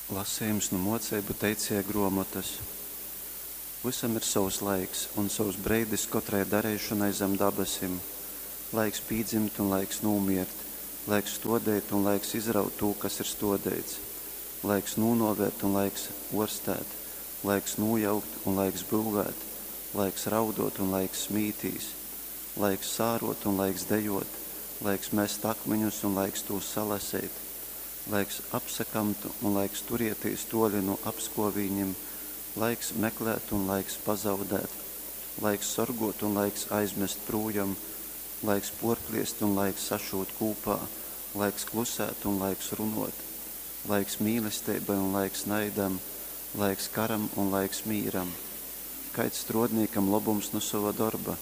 Lasejums nu Muoceibu teicieja gruomotys. Vysam ir sovs laiks un sovs breidis kotrai dareišonai zam dabasim. Laiks pīdzimt un laiks nūmiert, laiks stuodeit un laiks izraut tū, kas ir stuodeits. Laiks nūnuovēt un laiks uorstēt, laiks nūjaukt un laiks byuvēt, laiks rauduot un laiks smītīs, laiks sāruot un laiks dejuot, laiks mest akmiņus un laiks tūs salaseit, laiks apsakamt un laiks turietīs tuoli nu apskuovīņim, laiks meklēt un laiks pazaudēt, laiks sorguot un laiks aizmest prūjom, laiks puorpliest un laiks sašūt kūpā, laiks klusēt un laiks runuot, laiks mīlesteibai un laiks naidam, laiks karam un laiks mīram. Kaids struodnīkam lobums nu sova dorba?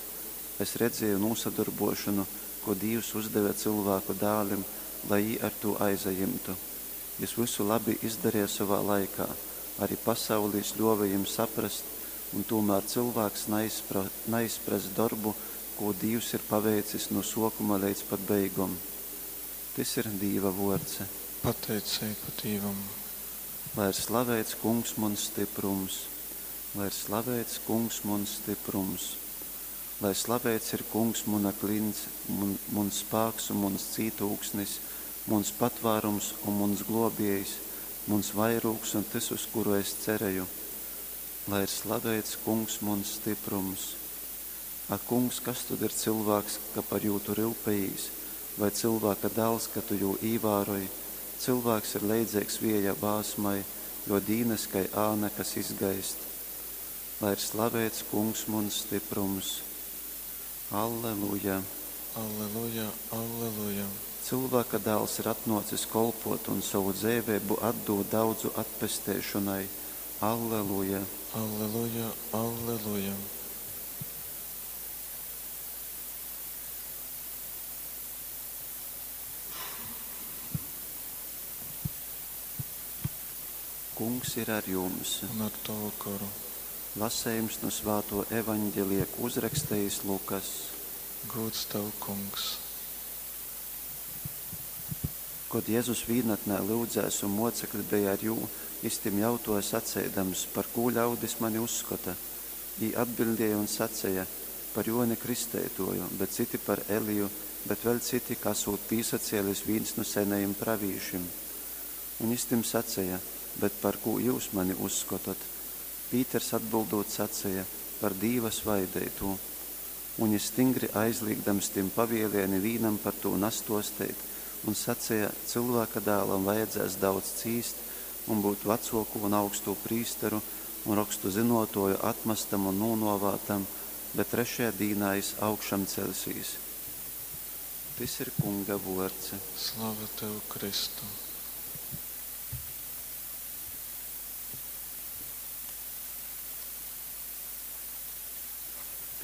Es redzieju nūsadorbuošonu, kū Dīvs uzdeve cylvāku dālim, lai jī ar tū aizajimtu. Jys vysu labi izdareja sovā laikā, ari pasauli jys ļōve jim saprast, un tūmār cylvāks naizprass dorbu, kū Dīvs ir paveicis nu sōkuma leidz pat beigom. Tys ir Dīva vōrds. Pateiceiba Dīvam. Lai ir slaveits Kungs muns styprums, lai ir slaveits Kungs muns styprums. Lai slaveits ir Kungs muna klints, mun, muns spāks un muns cītūksnis, muns patvārums un muns glōbiejs, muns vairūgs un tys, uz kuru es cereju. Lai ir slaveits Kungs muns styprums. Ak, Kungs, kas tod ir cylvāks, ka par jū tu ryupejīs, vai cylvāka dāls, ka tu jū īvāroj? Cylvāks ir leidzeigs vieja vāsmai, jō dīnas kai āna, kas izgaist. Lai ir slaveits Kungs muns styprums. Alleluja! Alleluja, alleluja! Cylvāka Dāls ir atnōcis kolpōt un sovu dzeiveibu atdūt daudzu atpesteišonai. Alleluja! Alleluja, alleluja! Kungs ir ar jums! Un ar tavu goru. Lasejums nu Svātō Evaņgelija, kū uzrakstejis Lukass. Gūds tev, Kungs! Kod Jezus vīnatnē lyudzēs un mōcekli beja ar jū, jys tim jautōja saceidams, Par kū ļaudis mani uzskota? Jī atbiļdēja un saceja, Par Jōni Kristeitōju, bet citi par Eliju, bet vēļ citi, ka asūt pīsacēlis vīns nu senejim pravīšim. Un jys tim saceja, Bet par kū jyus mani uzskotot? Pīters atbyldūt saceja, Par Dīva Svaideitū. Un jys stingri aizlīgdams tim pavēlēja nivīnam par tū nastōsteit un saceja, Cylvāka Dālam vajadzēs daudz cīst un byut vacōkū un augstū prīsteru un Rokstu zynōtōju atmastam un nūnōvātam, bet trešajā dīnā jys augšamceļsīs. Tys ir Kunga vōrds. Slava tev, Kristu!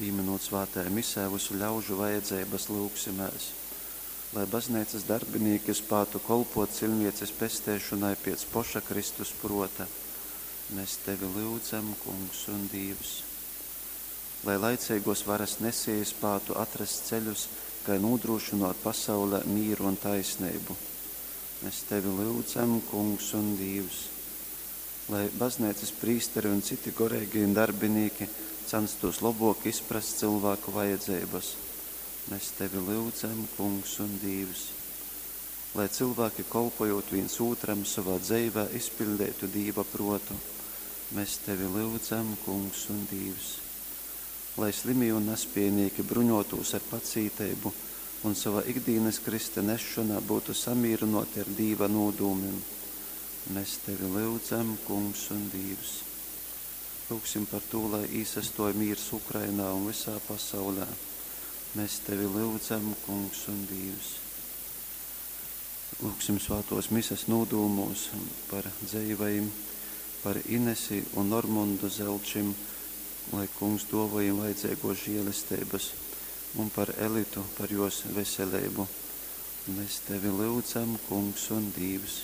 Pīmynūt svātajā Misē vysu ļaužu vajadzeibas, lyugsimēs, lai Bazneicas darbinīki spātu kolpōt ciļvieces pesteišonai piec poša Kristus pruota. Mes Tevi lyudzam, Kungs un Dīvs. Lai laiceiguos varas nesieji spātu atrast ceļus, kai nūdrūšynuot pasaulē mīru un taisneibu. Mes Tevi lyudzam, Kungs un Dīvs. Lai Bazneicas prīsteri un citi goreigī darbinīki canstūs lobuok izprast cylvāku vajadzeibys. Mes Tevi lyudzam, Kungs un Dīvs. Lai cylvāki, kolpojūt vīns ūtram, sovā dzeivē izpiļdeitu Dīva pruotu. Mes Tevi lyudzam, Kungs un Dīvs. Lai slimī un naspiejnīki bruņuotūs ar pacīteibu un sova ikdīnys krysta nesšonā byutu samīrynuoti ar Dīva nūdūmim. Mes Tevi lyudzam, Kungs un Dīvs. Lyugsim par tū, lai īsastuoj mīrs Ukrainā un vysā pasaulē. Mes Tevi lyudzam, Kungs un Dīvs. Lūgsim svātuos Mises nūdūmūs par dzeivajim, par Inesi un Normundu Zelčim, lai Kungs duovoj jim vajadzeiguos žielesteibys, un par Elitu, par juos veseleibu. Mes Tevi lyudzam, Kungs un Dīvs.